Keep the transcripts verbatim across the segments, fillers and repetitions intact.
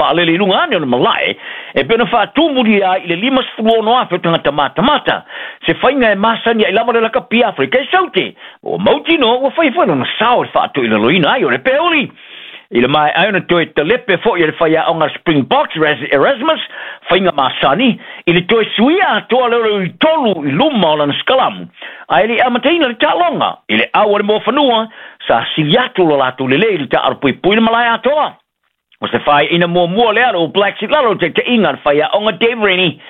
vaalele i luga ane o le malae e pei ona faatumulia ai i le limasefulu ono afe o tagata matamata se faiga e masani ai lava le lakapi Aferika i Saute ua mautinoa ua fai foi lona sao i le faatoilaloina ai o le peuli. I le maea ai ona toe talepe foʻi e le faiaoga Springboks Erasmus faiga masani i le toe suia atoa lea o le uitolu i luma o lana sikalamu ae leʻi amataina le taaloga i le au a le moafanua sa sili atu lo latou lelei i le taaalo puipui le malae atoa. O se faaiaina muamua lea a le All Blacks i lalo o le taitaiga a le faiaoga Dave Rennie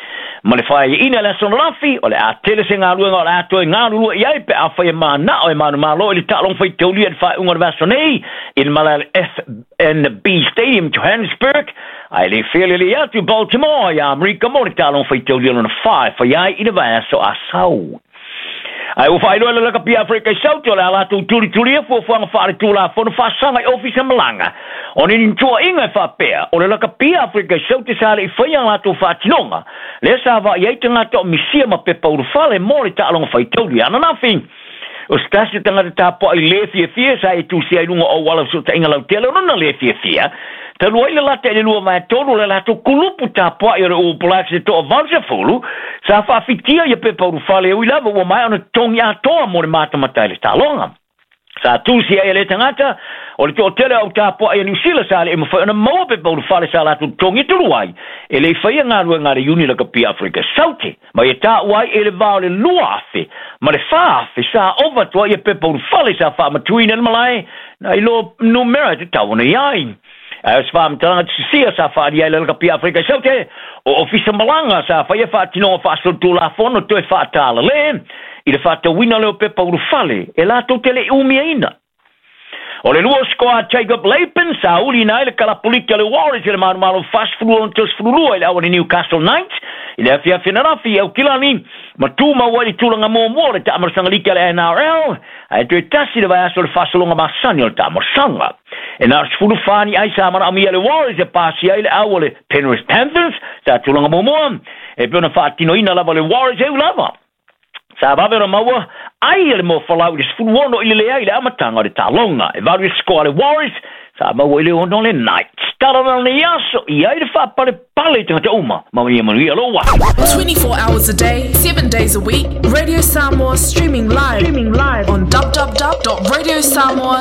ma le faaiaina i le aso ananafi o le a tele se galuega o le a toe galulue i ai pe afai e manao e manumalo i le taaloga faitaulia i le faaiuga o le vaiaso nei i le malae o le F N B Stadium Johannesburg ae le felelei atu i Baltimore ia Amerika mo le taaloga faitaulia lona fa e fai ai i le vaiaso Asau. Ae ua faailoa e le Lakapi Aferika i Saute o le a latou tulitulia fuafuaga faaletulafono faasaga i ofisa malaga ona ni tuuaiga e faapea o le Lakapi Aferika i Saute sa le i faia a latou faatinoga lea sa vaai ai tagata o misia ma pepa ulufale mo le taaloga faitauli ananafi. O se tasi o tagata tapuai le fiafia sa e tusia i luga o auala o fesootaiga lautele o lona le fiafia talu ai le lata i le lua vae tolu o le latou kulupu tapuai o le All Blacks e toavalusefulu sa faafitia ia pepa ulufale e ui lava ua maea ona totogi atoa mo le matamata i le taaloga. Sa tusi ai e lea tagata o le toatele o au tapuai a Niu Sila sa le i mafai ona maua pepa ulufale sa latou totogi talu ai e le i faia galuega a le Iuni Lakapi Aferika Saute ma ia taua ai e le va o le lua afe ma le fa afe sa ova atu ai ia pepa ulufale sa faamatuina i le malae nai lo numera e tatau ona i ai. Ae o se faamatalaga tusisia sa faaalia ai le Lakapi Aferika i Saute o ofisa malaga sa faia faatinoga faasolitulafono toe faatalale i le faatauina lea o pepa ulufale e latou te le i umiaina. O le lua o sikoa a Jacob Lapen sa uliina ai le kalapuliki a le Warriors i le manumalo fasefulu ono tosefulu lua i le au a le Newcastle Knights i le afiafi ananafi i Aukilani ma tumau ai i le tulaga muamua o le taamalosaga liki a le N R L ae toe tasi le vaiaso o le faasologa masani o le taamalosaga. E na o le sefulu fa ni ai sa manaomia e le Warriors e pasia ai le au a le Penrith Panthers sa tulaga muamua e pei ona faatinoina lava le Warriors e u lava. Sa vave ona maua ai e le moafolau i le sefulu ono i le leai i le amataga o le taaloga. E valu i sikoa a le Warriors sa maua i le ono le Knights. Tala na lenei aso i ai le faapalepale i tagata uma. Manuia manuia lou aso. twenty-four hours a day, seven days a week, Radio Samoa streaming live, streaming live on w w w dot radio samoa